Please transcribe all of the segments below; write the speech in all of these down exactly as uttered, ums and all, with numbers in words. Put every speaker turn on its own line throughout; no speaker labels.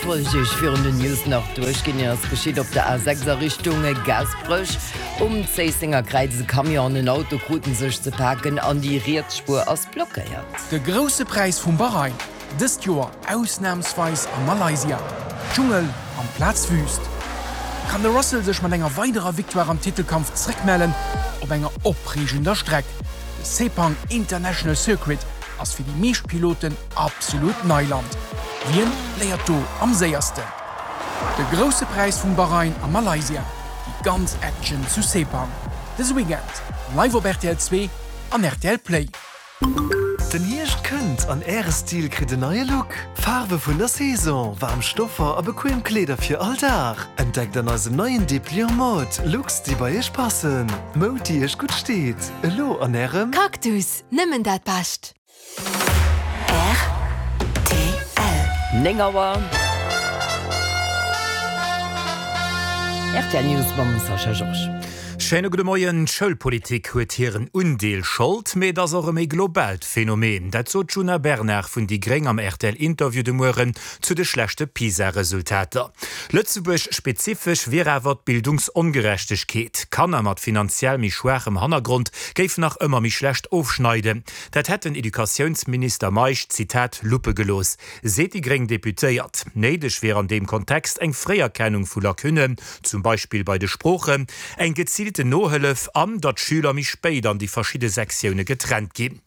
Wollt ech iech virun den News nach duerchginn. Hien ass geschitt op der A sechs a Richtung Gaasperech. Um Zéissenger Kräiz e Camion an en Auto kruten sech ze paken an déi riets Spuer ass blockéiert.
De Grousse Präis vum Bahrain, dëst Joer ausnamsweis a Malaysia. Dschungel amplaz Wüst. Kann de Russell sech mat enger weiderer Victoire am Titelkampf zréckmellen op enger opreegender Streck? De Sepang International Circuit ass fir déi meescht Piloten absolut Neiland. Wien léiert do am séiersten? De Grousse Präis vum Bahrain a Malaysia, déi ganz Action zu Sepang, dëse Weekend live op rtl zwee an rtl Play.
Den Hierscht kënnt an Äre Stil kritt en neie Look. Faarwe vun der Saison, waarm Stoffer a bequem Kleeder fir all Dag. Entdeckt an eisem neien Depliant Mode Looks, déi bei Iech passen. Moud, déi Iech gutt steet. Elo an Ärem.
Cactus, nëmmen dat Bescht!
Rtl. Néng Auer. Rtl News mam Sascha Georges.
Schéine gudde Moien. D'Schoulpolitik huet hiren Undeel Schold, mee et ass och e méi globaalt Phänomen. Dat sot d'Djuna Bernard vun déi Gréng am RTL-Interview de Mueren zu de schlechte PISA-Resultater. Lëtzebuerg-spezifesch wier awer d'Bildungsongerechtegkeet. Kanner mat finanziell méi schwaachem Hannergrond géifen nach ëmmer méi schlecht ofschneiden. Dat hätt den Educatiounsminister Meisch, Zitat, Luppe gelooss, seet déi gréng Deputéiert. Néideg wier an deem Kontext eng Fréierkennung vu Lacunnen, zum Beispill bei de Sproochen, eng geziilten Nohëllef an datt d'Schüler méi spéit an déi verschidde Sektioune getrennt ginn.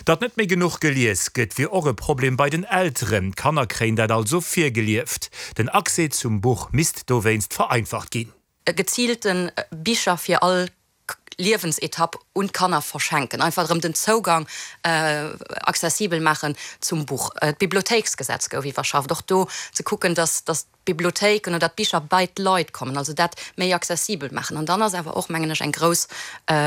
Datt net méi genuch gelies gëtt, wier och e Problem bei den Elteren. D'Kanner kréien dat also virgelieft. Den Accès zum Buch misst dowéinst vereinfacht ginn.
Geziilte Bicher fir all Liewensetapp un d'Kanner verschenken, einfach erëm den Zougang accessibel maachen zum Buch. D'Bibliothéiksgesetz gouf iwwerschafft, och do ze kucken, dass d'Bibliothéiken oder d'Bicher bei d'Leit kommen, also dat méi accessibel maachen. An dann ass awer och, mengen ech, eng grouss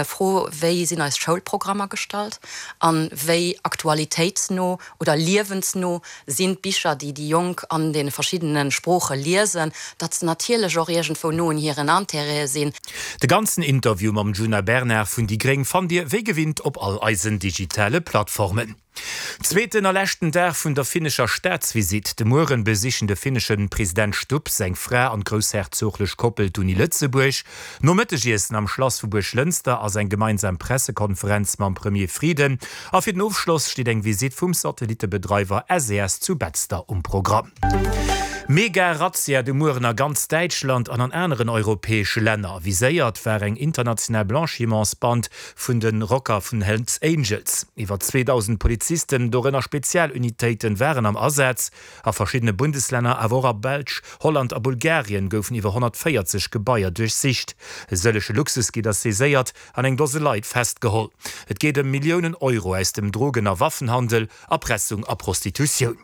Fro, Wéi sinn eis Schoulprogrammer gestallt a wéi aktualitéitsno oder liewensno sinn d'Bicher, déi déi Jonk an deene verschiddene Sprooche liesen, datt se natierlech och iergendwou no un hiren Intérêtë sinn.
De ganzen Interview mam Djuna Bernard vun déi gréng fannt Dir wéi gewinnt op all eisen digitale Plattformen. Zweeten a leschten Dag vun der finnescher Staatsvisitt. De Mueren besichen de finnesche President Stubb, seng Fra an d'groussherzoglech Koppel d'Uni Lëtzebuerg. Nom Mëttegiessen am Schlass vu Buerglënster ass eng gemeinsam Pressekonferenz mam Premier Frieden. A fir den Ofschloss steet eng Visitt vum Satellittebedreiwer S E S zu Betzder um Programm. Mega-Razzia de Mueren a ganz Däitschland an an aneren europäesche Länner. Viséiert war eng international Blanchimentsband vun de Rocker vun Hells Angels. Iwwer zweedausend Polizisten, dorënner Spezialunitéiten, waren am Asaz. A verschiddene Bundeslänner, awer och a Belsch, Holland a Bulgarien goufen iwwer honnertvéierzeg Gebaier duerchsicht. E sëllege Luxusgidder saiséiert an eng Dose Leit festgeholl. Et geet ëm Milliounen Euro aus dem Drogen a Waffenhandel, Erpressung a Prostitutioun.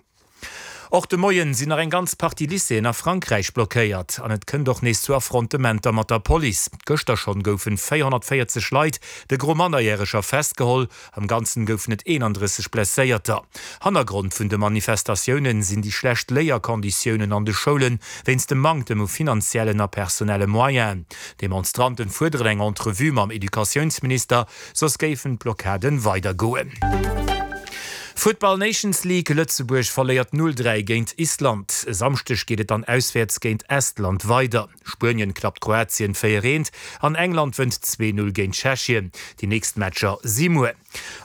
Och de Moien sinn nach eng ganz Partie Lycéeën a Frankräich blockéiert an et kënnt och nees zu Affrontementer mat der Police. Gëschter schonn goufen véierhonnertvéierzeg Leit, de Gros Mannerjäreger, festgeholl. Am Ganzen goufen et eenandrësseg Blesséierter. Hannergrond vun de Manifestatiounen sinn déi schlecht Léierkonditiounen an de Schoulen wéinst dem Manktem u finanziellen a personelle Moyenen. D'Demonstranten fuerderen eng Entrevue mam Educatiounsminister, soss géifen d'Blockaden weidergoen. Futtball Nations League, Lëtzebuerg verléiert null dräi géint Island. E Samschdeg geet et dann auswäerts géint Estland weider. Spuenien klappt Kroatien véier eent an England wënnt zwee null géint Tschechien. Déi nächst Matcher si muer.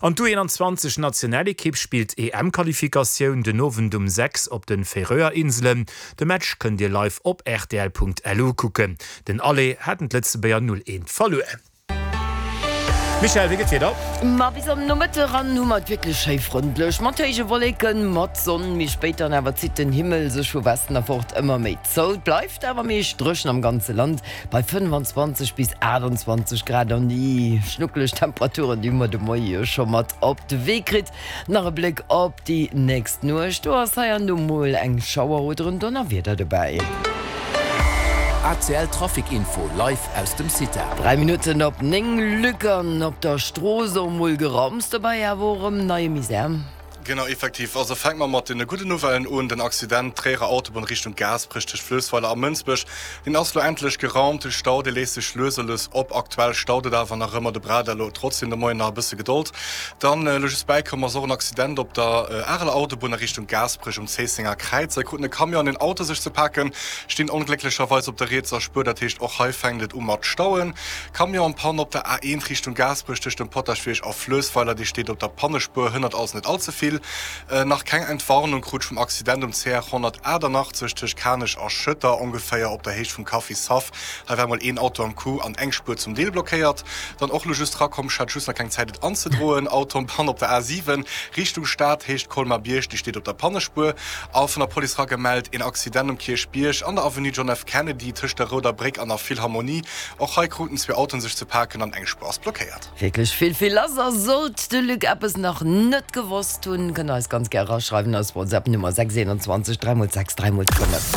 An d'U eenanzwanzeg Nationalekipp spillt E M Qualifikatioun den Owend um sechs op de Färöer Inselen. De Match kënnt Dir live op rtl Punkt L U kucken. Den Aller haten d'Lëtzebuerger null eent verluer. Michèle, wéi gëtt d'Wieder?
Ma bis am Nomëtte ran hu mer et wierklech schéi frëndlech, mat héije Wolleken, mat Sonn. Méi spéit dann awer zitt den Himmel sech vu Westen erfort ëmmer méi zou. Et bleift awer meescht dréchen am ganze Land bei fënnfanzwanzeg bis aachtanzwanzeg Grad. An déi schnuckeleg Temperaturen, déi hu mer de Moie jo scho mat op de Wee kritt. Nach e Bléck op déi nächst Nuecht, do ass hei an do mol eng Schauer oder en Donnerwieder dobäi.
A C L Trafic Info live aus dem CITA.
Dräi Minutten op néng, Luc, an op der Strooss och mol Geramms, dobäi awer och erëm neie Misär.
Genau, effektiv. Also fänke mer mat deene gudden Nouvellen un. Den Accident Tréierer Autobunn Richtung Gaasperech tëscht Fluessweiler a Mënsbech, deen ass lo endlech geraumt. De Stau, dee léist sech lues a lues op. Aktuell staut et awer nach ëmmer. De braucht elo trotzdem de Moien nach e bësse Gedold. Dann elo just bäikomm ass och en Accident op der Areler Autobunn a Richtung Gaasperech um Zéissenger Kräiz. Hei kruten e Camion an en Auto sech ze paken, stinn onglécklecherweis op der rietser Spuer. Dat heescht, och hei fänkt et u mat stauen. Camion en panne op der A eent Richtung Gaasperech tëscht dem Potaschbierg a Fluessweiler, dee steet op der Pannespuer, hënnert also net all ze vill. Nach keng Entwarnung krut vum Accident um C R honnertaachtannachtzeg tëscht Kanech a Schëtter, ongeféier op der Héicht vum Café Saff. Hei war mol een Auto am Coup an eng Spuer zum Deel blockéiert. Dann och lo just rakomm, ech hat just nach keng Zäit et anzedroen, Auto en panne op der A siwen Richtung Stad, Héicht Colmar-Bierg, déi steet op der Pannespuer. A vun der Police ragemellt een Accident um Kierchbierg an der Avenue John F. Kennedy tëscht der Rouder Bréck an der Philharmonie. Och hei kruten zwee Autoen sech ze paken an eng Spuer ass blockéiert.
Wierklech vill, vill lass. A sollt de Luc eppes nach net gewosst hunn, kënnt eis ganz gär eraschreiwen eis WhatsApp Nummer sechs eenundzwanzeg dräi mol sechs dräi mol fënnef.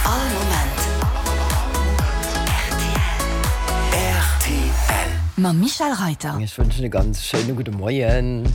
All Moment rtl. Mam Michel Reiter.
Ech wënschen e ganz schéine gudde Moien.